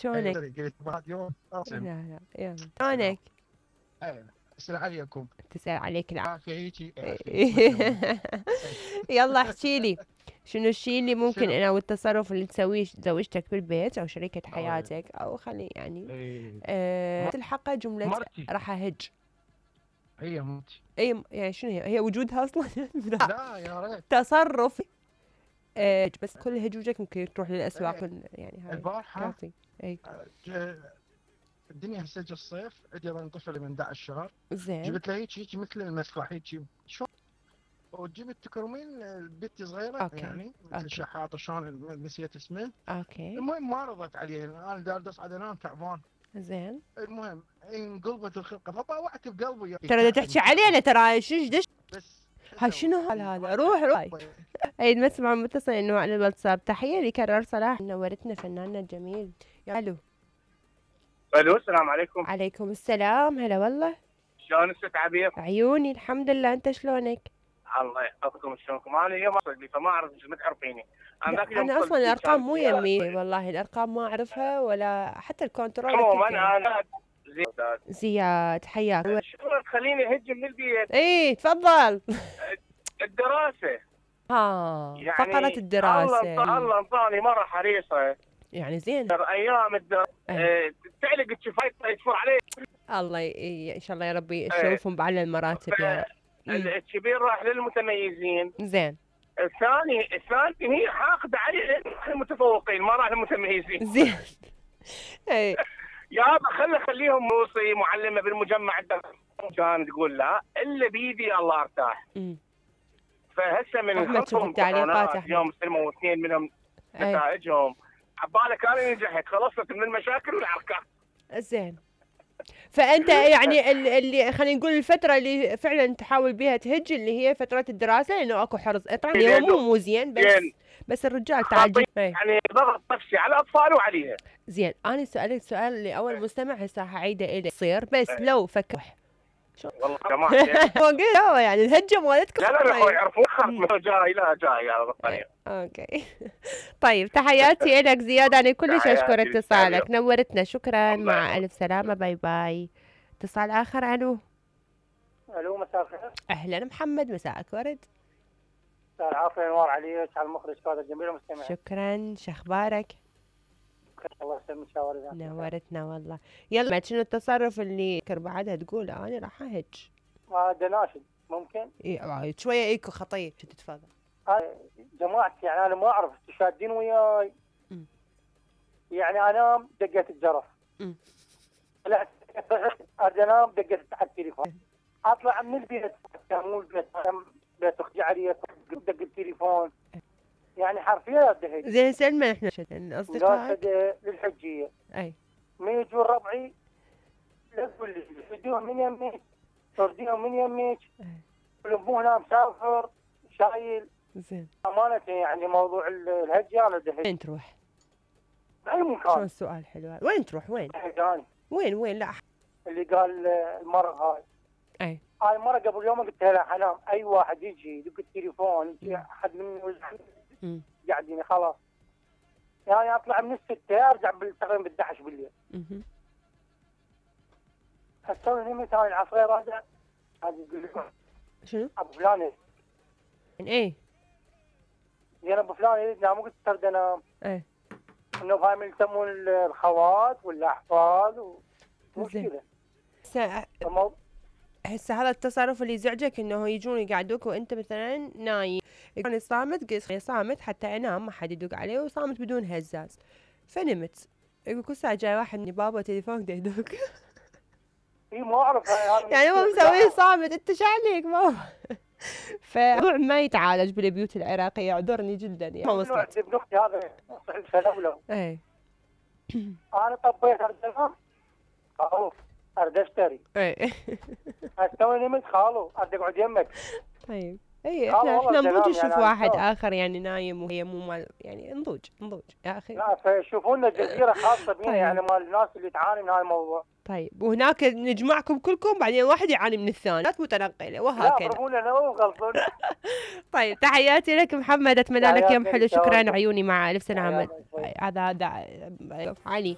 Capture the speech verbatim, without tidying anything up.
شلونك؟ قلت بعد يوم لا اصلا. لا يلا شلونك؟ السلام عليكم. تسأل عليك العافية. عافية هيجي عافية. يلا احكي لي شنو الشيء اللي ممكن شنو؟ انا والتصرف اللي تسويه زوجتك بالبيت او شريكة أوه. حياتك او خلي يعني إيه. أه تلحقها جملة مرتي راح اهج. هي مرتي. اي يعني شنو هي؟ هي وجودها اصلا لا يا ريت. تصرف أه بس كل هجوجك ممكن تروح للاسواق إيه. يعني هاي البارحة كافي. اي ج- الدنيا هسه جا الصيف، عندي ظن طفل من أحد عشر شهر، زين جبت له هيك هيك مثل المسبح هيك شو، وجبت تكرمين البت صغيرة اوكي يعني مثل اوكي شحاطة، شلون نسيت اسمه. اوكي المهم ما رضت عليه، انا دار اصعد انام تعبان. زين المهم انقلبت الخلقه فطوعت بقلبي. ترى بدها تحكي علينا ترى شو دش بس هاي شنو هال هذا روح روح. اي نسمع متصل انه على الواتساب. تحيه لكرر صلاح نورتنا فناننا الجميل. الو الو السلام عليكم. عليكم السلام هلا والله. شلون الست عبير؟ عيوني الحمد لله انت شلونك؟ الله يحفظكم شلونكم. انا اليوم اصل لي فما اعرف ايش ما تعرفيني. انا ذاك اليوم انا اصلا الارقام مو يمي والله الارقام ما اعرفها ولا حتى الكنترول. عموما انا زياد زياد حياك. شلون تخليني اهج من البيت؟ اي تفضل. الدراسه ها يعني فقرة الدراسة. الله الله انطاني مره حريصه يعني زين ايام الدراسه أه. تعلق الشفايف يدفر عليه. الله ي... ان شاء الله يا ربي يشوفهم بعلى المراتب ف... يا الكبير راح للمتميزين. زين الثاني الثاني هي حاقده عليه المتفوقين ما راح للمتميزين. زين اي يابا خلي خليهم موصي معلمه بالمجمع الدراسي. كانت تقول لا الا بيدي الله ارتاح. امم فهسه من احمد شوف التعليقات احمد يوم استلموا اثنين منهم نتائجهم عباله كانوا نجحت خلصت من المشاكل والعركات. زين فانت يعني اللي خلينا نقول الفتره اللي فعلا تحاول بها تهج اللي هي فتره الدراسه لانه اكو حرص طبعا اليوم مو مو زين بس زين. بس الرجال تعال يعني ضغط نفسي على الاطفال وعليها. زين انا سالت سؤال لاول مستمع هسه حعيده الك يصير بس لو فكر والله كمان يعني الهجه مالتكم. لا لا لا يعرفون جاي لا جاي يا بطاريه. اوكي طيب تحياتي لك زياد انا كلش اشكر اتصالك نورتنا شكرا مع الف سلامه باي باي. اتصال اخر. الو الو مساء الخير. اهلا محمد مساءك ورد. مساء العافيه انوار عليك على المخرج كادر جميل ومستمع. شكرا شخبارك؟ الله يسلمك شاورنا. نورتنا والله. يلا شنو التصرف اللي كر بعدها تقول انا راح اهج؟ هذا ناشد ممكن؟ اي شويه ايكو خطيه تتفضل. جماعتي يعني انا ما اعرف شادين وياي. يعني انام دقت الجرس. طلعت اريد انام دقت على التليفون. اطلع من البيت مو البيت بيت اختي علي دق التليفون. يعني حرفيا دهيت. زين سلمى احنا اصدقائك للحجيه. اي ما يجون ربعي لا تقول لي ترديهم من يميك ترديهم من يميك والابو هنا مسافر شايل. زين امانه يعني موضوع الهجه انا دهيت. وين تروح؟ اي مكان. شو السؤال حلو هذا. وين تروح وين؟ حجاني. وين وين لا اللي قال المره هاي. اي هاي المره قبل يوم قلت لها حنام اي واحد يجي يدق التليفون يجي احد من قاعدين خلاص يعني اطلع من الستة ارجع تقريبا بالأحد عشر بالليل. اها اسوي نمت هاي العصير هذا هذا يقول لي شنو؟ ابو فلان ايه زين ابو فلان يريد نام قلت ترد انام. ايه انه هاي من يسمون الخوات والاحفاد ومشكله. هسه هسه هذا التصرف اللي يزعجك انه يجون يقعدوك وانت مثلا نايم يكون صامت قص صامت حتى انام ما حد يدق عليه وصامت بدون هزاز فنمت يقول كل ساعه جاي واحد من بابا تليفونك يدق. اي ما اعرف يعني هو مسويه صامت انت شو عليك بابا. فموضوع ما يتعالج بالبيوت العراقيه اعذرني جدا يعني ما وصلت. ابن اختي هذا فلولو. اي انا طبيت ارد انام خلاص ارد اشتري. اي استوي نمت خالو ارد اقعد يمك. طيب اي احنا احنا نضوج نشوف يعني واحد اخر يعني نايم وهي مو مال يعني نضوج نضوج يا اخي. لا فيشوفوا لنا جزيره خاصه بينا. طيب. يعني مال الناس اللي تعاني من هذا الموضوع. طيب وهناك نجمعكم كلكم بعدين واحد يعاني من الثاني متنقله وهكذا. لا فرمونا انا وغلطون. طيب تحياتي لك محمد اتمنى لك يوم حلو. شكرا عيوني مع الف سلامه. هذا هذا علي